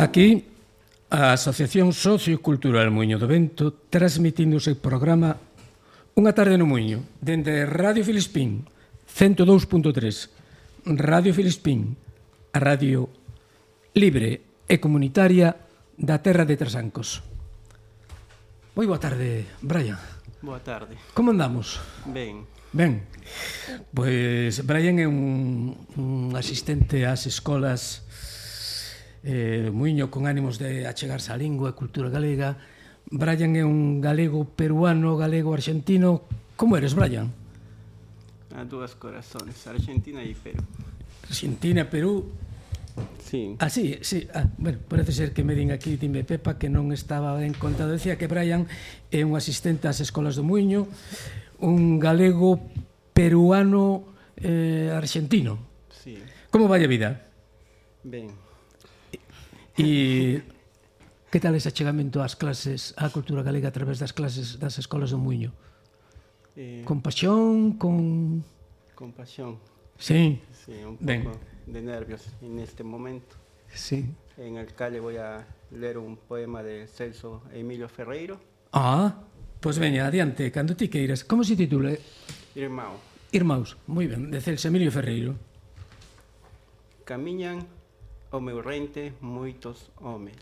Aquí, a Asociación Sociocultural Muiño do Vento transmitindo o seu programa Unha tarde no Muiño, dende Radio Filispín, 102.3, Radio Filispín, a radio libre e comunitaria da terra de Trasancos. Moi boa tarde, Brian. Boa tarde. Como andamos? Ben. Ben, pois Brian é un asistente ás escolas do Muiño con ánimos de achegarse á lingua e cultura galega. Brian é un galego peruano, galego argentino. Como eres, Brian? A dúas corazones, Argentina e Perú. Argentina, Perú. Sí. Ah, sí. Bueno, parece ser que me din aquí, dime Pepa, que non estaba ben contado. Decía que Brian é un asistente ás escolas do Muiño, un galego peruano argentino. Sí. Como vai a vida? Ben. E que tal ese achegamento ás clases, á cultura galega a través das clases das escolas do Muiño? Con pasión, con... Con pasión. Sí. Sí, un Ben. poco de nervios en este momento. Sí. En el calle voy a leer un poema de Celso Emilio Ferreiro. Ah, pois veña, adiante, cando ti queiras. Como se titula? Irmão. Irmãos, moi ben, de Celso Emilio Ferreiro. Camiñan ao meu rente moitos homes.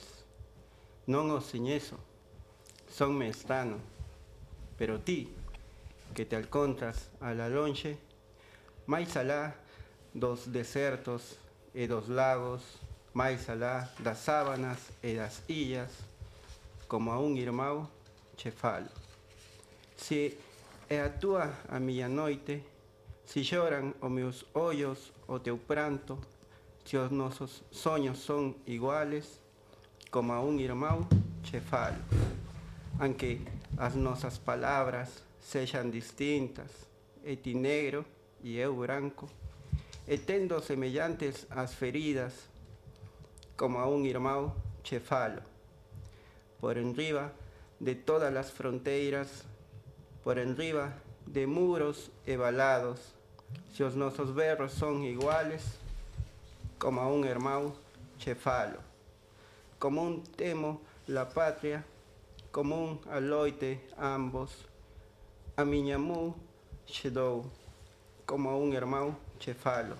Non os señezo, sonme estrano, pero ti, que te alcontras a la lonxe, máis alá dos desertos e dos lagos, máis alá das sábanas e das illas, como a un irmão che falo. Se é a túa a miña noite, se lloran os meus ollos o teu pranto, se os nosos soños son iguales, como a un irmão che falo. Aunque as nosas palabras sexan distintas, e ti negro e eu branco, e tendo semellantes as feridas, como a un irmão che falo. Por enriba de todas as fronteiras, por enriba de muros e valados, se os nosos berros son iguales, como a un irmão che falo. Como un temo la patria, como un aloite ambos, a miña mu che dou, como a un irmão che falo.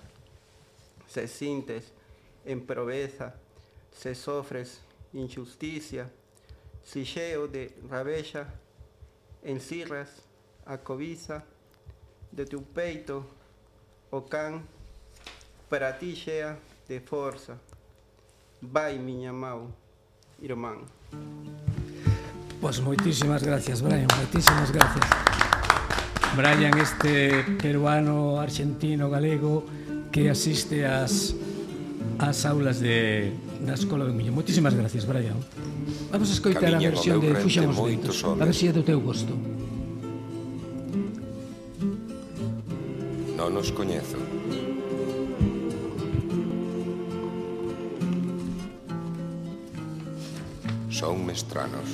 Se sintes en proveza, se sofres injusticia, se cheo de rabeja, encirras a cobiza de tu peito, o can, para ti chea de força. Vai, miña mau, irmán. Pois moitísimas gracias, Brian, moitísimas gracias. Brian, este peruano, argentino, galego, que asiste ás aulas da Escola do Muiño. Moitísimas gracias, Brian. Vamos a escoitar a versión de Fuxan os Ventos, a ver se é do teu gosto. Non os coñezo. Son mestranos.